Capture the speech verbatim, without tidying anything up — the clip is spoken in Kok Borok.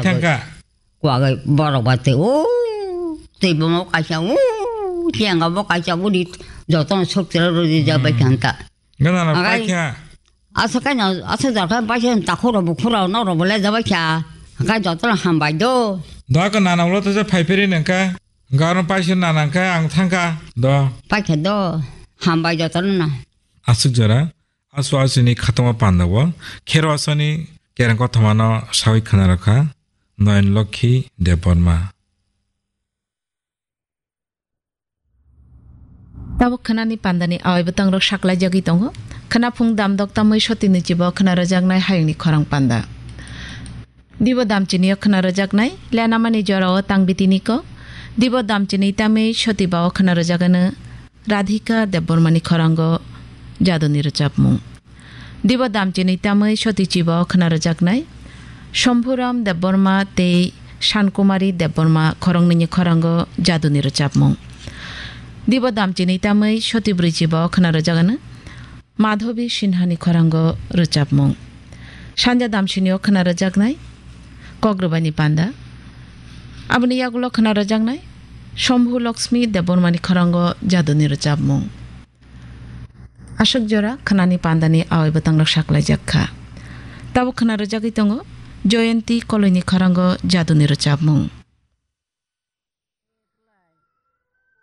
Thangka. Kuagai borok ba tei o tei bomo kaisa o tenga bo kaisa uri jotono sok tera rodi ja bai thangka. Gana na Agai, paikha. Asa kaina asa jarka paisa takhoro bukhura no ro bole ja bai kha. Kai jotono hambai do. Daka nana ulo to je phaiperi nangka. Garo paisa nana kha ang thangka. Do. Paikha do. Hambai jotono na. Aswk jora. Asu asuni khatungma pandao. Khero asani kerang kothomano sawi khanarokha. Noyon Lokhi Debbarma. Tabuk khwnani pandani awai bwtangrok saklaijagwi tongo. Khwna phung damdok tamwi sotini chibo khwna rwjaknai hayungni khorang panda. Dibo damchini o khwna rwjaknai lenamani jorao tangbitini kok. Dibo damchini tamwi soti bao khwna rwjagano Radhika Debbarmani khorango jaduni rwchapmung. Dibo damchini tamwi soti chibo khwna rwjaknai Shambhuram Debbarma tei Sankumari Debbarma khoroknwini khorango jaduni rwchapmung. Dibo damchini tamwi soti bwrwi chibo khwna rwjagano Madhabi Sinhani khorango rwchapmung. Sanja damsini o khwna rwjaknai Kok Rwbaini Panda. Aboni yagulo khwna rwjaknai Shambhu Lakshmi Debbarmani khorango jaduni rwchapmung. Aswk jora khwnani pandani awai bwtangrok saklaijak kha. Tabuk khwna rwjagwi tongo Jayanti Koloini khorango jaduni rwchapmung.